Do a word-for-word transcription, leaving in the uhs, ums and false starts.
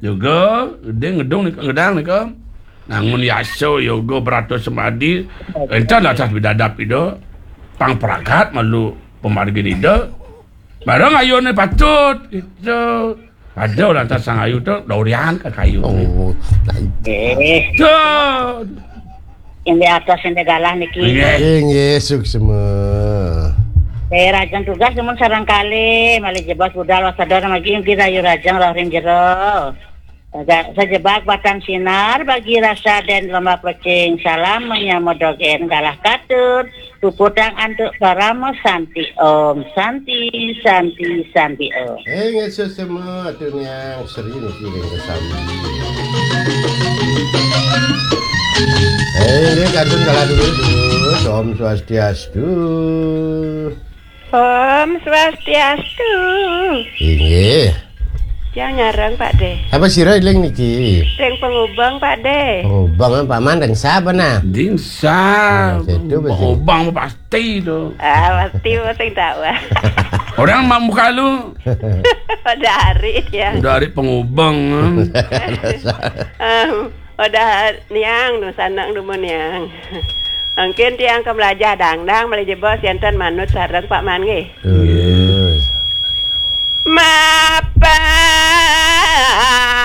Yoga, gedé ngedung nika, ngedang nika. Nangun yasa yoga beratus semadi. Entan atas bidadap ida. Pang pragat malu pemargin ida. Barang ayuné patut gitu. Ada orang tas sang ayu tu, durian ke kayu. Oh, eh. Tuh. Yang di atas yang di galah niki. Nggih. Inggih, suksma. Eh, rajang tugas namun sarang kali, malih jebos budal wasada lagi kita ayu rajang roh ring jero. Sejebak batang sinar bagi rasa dan lembah pecing. Salam menyamodogén galah katut. Puputang antuk parama santi. Om santi, santi, santi om. Eh, nggih suksma atur niang seri niki ring kesambi. Eh, nggih kantun kalah dulu dulu. Om Swastiastu. Om Swastiastu. Inggih. Yang nyarang Pak De. Apa sira iling niki? Ring pengubang Pak De. Oh, bang Pak Man ring sapa nah? Ding sa. Nah, situ betul. Obang pasti tu. Ah, pasti sing tahu. Orang mau muka lu Pada hari ya. Udah hari pengubang. Em, Pada niang nu sanang dumun niang. Mungkin tiang ke melajah dangdang malih jebos enten manut sareng Pak Man nggih. Terus. Ma